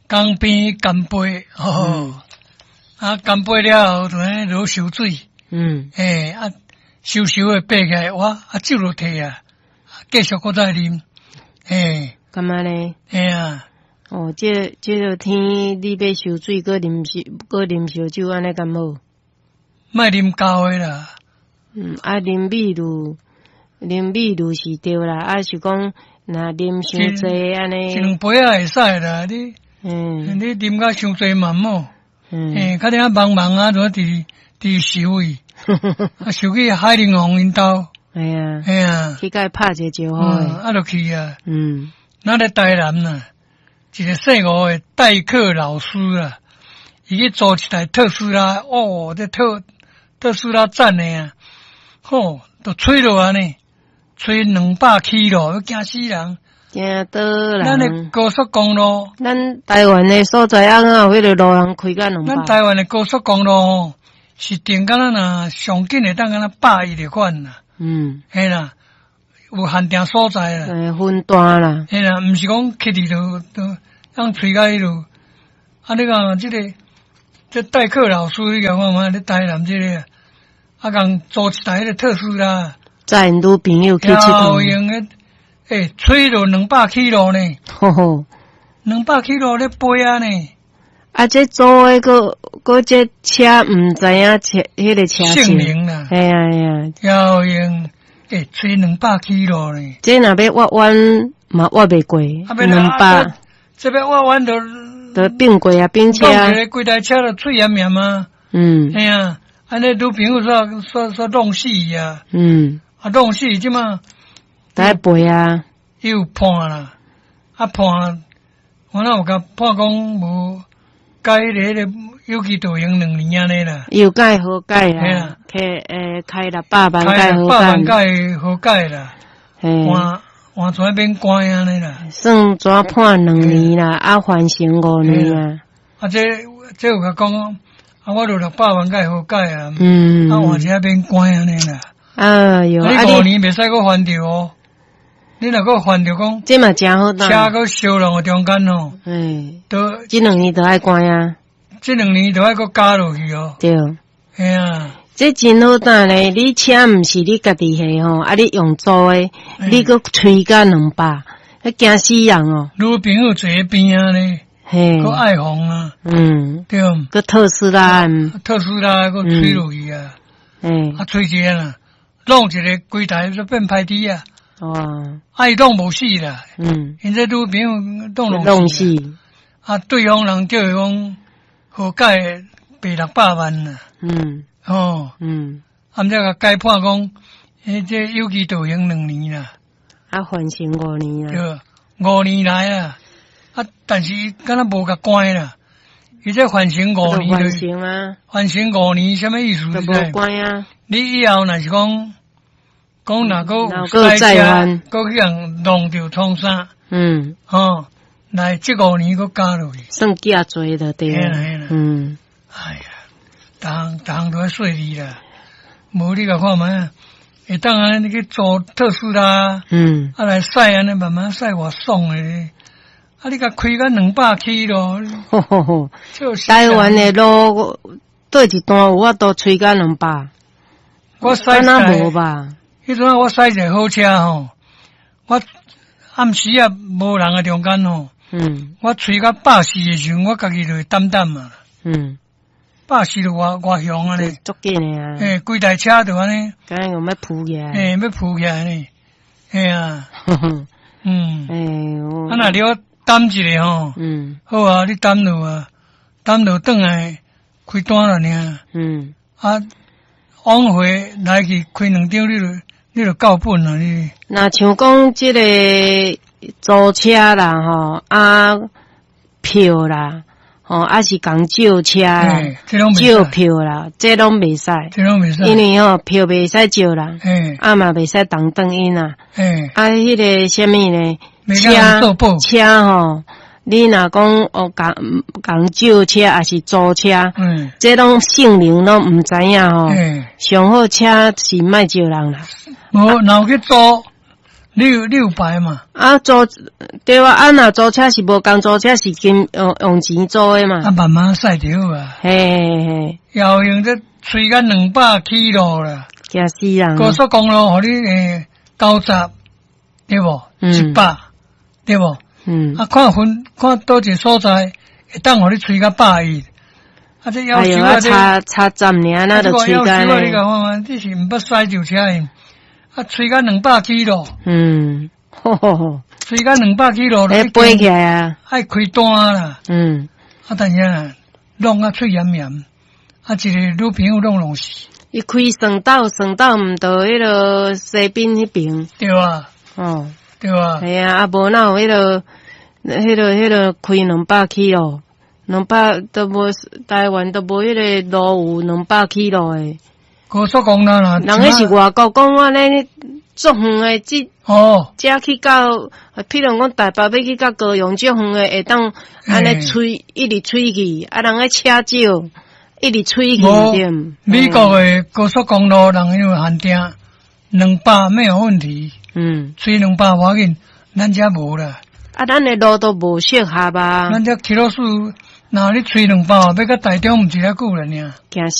江邊乾杯，吼，啊，乾杯了後就呢落燒水，欸，啊，燒燒的爬起來，哇，啊，酒就退啊，繼續閣再啉，欸，感覺呢？嘿啊。哦，這個天你欲燒水，閣啉燒，閣啉燒酒，按呢敢好？莫啉厚的啦。嗯，啊，啉米露，啉米露是對啦，啊是講若啉傷濟按呢。一兩杯仔會使啦，你，你啉甲傷濟嘛毋好。欸，較爾茫茫啊，就佇佇收去，啊，收去海陵王𪜶兜。嘿啊。嘿啊。去共伊拍一個招呼。啊，就去啊。咱咧台南啊，一個姓吳的代課老師啊，伊去租一台特斯拉，哦，這特斯拉讚的啊，吼，都吹落按呢，吹200起路，驚死人。驚倒人。咱的高速公路，咱台灣的所在啊，哪有彼个路人開甲200？咱台灣的高速公路吼，是定敢若若上緊會當敢若110就款啦。嘿啦，有限定所在啦。欸，分段啦。嘿啦，毋是講去佇就就當吹甲彼落。啊，你講這個這代課老師，你共看覓？咧台南這個，啊，共租一台彼个特斯拉，載𪜶女朋友去𨑨迌。用的，欸，吹落200起路呢。吼吼， 200起路咧飛啊呢。啊，這租的閣閣這車毋知影車，彼個車性能啦。嘿啊嘿啊。要用，欸，吹200起路呢。這若欲挖彎嘛挖袂過，200。這欲挖彎就就變過啊，變車。弄一個規台車就碎嚴嚴啊。嘿啊，按呢女朋友煞煞煞弄死伊啊。啊，弄死這馬。得賠啊。伊有判啦，啊判，我哪有共判講無改彼個有期徒刑2年按呢啦。伊有共伊和解啊，開欸開600萬共伊和解。600萬共伊和解啦。換換出來免關按呢啦。算怎判兩年啦，啊緩刑5年啊。啊這有共講，啊我就600萬共伊和解啊。啊換一下免關按呢啦。哎喲，啊你5年袂使閣犯著哦。你若閣犯著講，這嘛誠好車閣燒兩個中間哦，欸，都這兩年都愛關啊，這兩年都愛閣加落去哦。對，嘿啊，這真好擔咧，你車毋是你家己的吼，啊你用租的，你閣吹甲200，彼驚死人哦。女朋友坐佇邊仔咧，嘿，閣愛紅啊，對，閣特斯拉，特斯拉閣吹落去啊，啊吹一个啦，弄一个規台就變歹豬啊。哇！啊，伊攏無死啦。𪜶這女朋友攏弄死。啊，對方人叫伊講和解賠600萬啦。哦。啊，毋才共改判講，欸，這有期徒刑兩年啦。啊，緩刑五年啦。對，5年來啊，啊，但是伊敢若無共關啦。伊這緩刑五年。緩刑啊。緩刑五年，啥物意思？就無關啊。你以後若是講。講若閣有賽車，閣去予弄著創啥？吼，來這5年閣加落去，算假罪就對啦。哎呀，逐項逐項都愛細膩啦。無你共看覓啊？會當按呢去租特斯拉，啊來駛按呢慢慢駛偌爽的咧。啊，你共開甲200起咯。吼吼吼！台灣的路佗一段有法度吹甲200？我駛敢若無吧？彼陣我駛一个好車吼，我暗時啊無人的中間吼，我吹到140的時陣，我家己就會膽膽啊。140就偌偌雄按呢，足緊的啊！欸，規台車就按呢，敢若欲浮起來。欸，欲浮起來呢，嘿啊。欸，啊，若你我等一下吼，好啊，你等落啊，等落轉來開單了爾。啊，往回來去開兩張，你就夠本啦！你若像講這個租車啦，吼啊票啦，吼啊是共借車啦，借票啦，這攏袂使，這攏袂使，因為吼票袂使借人，啊嘛袂使當轉𪜶啦，啊彼個啥物呢？車車吼，你若講哦，共共借車抑是租車，這攏性能攏毋知影吼。上好車是莫借人啦。無，若有去租， 600嘛。啊，租對啊，啊若租車是無仝租車是金用用錢租的嘛。啊，慢慢駛就好啊。嘿嘿嘿。遙用這吹甲200起路啦。驚死人。高速公路予你90，對無？100，對無？嗯。啊，看分看佗一个所在，會當予你吹甲110。啊，這夭壽啊！差差站爾，那就吹甲呢。你講看，這是毋捌駛舊車的，啊，吹甲200起路。吼吼吼。吹甲200起路，會飛起來啊！愛開單啦。啊，但是啊，弄啊喙炎炎，啊，一个女朋友攏弄死。伊開隧道，隧道毋到彼个西濱彼爿。對啊。哦。對啊。係啊，啊無哪有彼个開兩百起路。兩百都無，台灣都無彼个路有兩百起路的。高速公路啦，人彼是外國講按呢足遠的，這這去到，譬如講台北欲去到高雄，足遠的會當按呢吹，一直吹去，啊，人彼車少，一直吹去對。美國的高速公路人因為限定兩百沒有問題，吹兩百無要緊，咱遮無啦。啊，咱的路都無適合啊。咱遮キロ數，若你吹兩百，欲到台中毋是遐久了爾。驚死。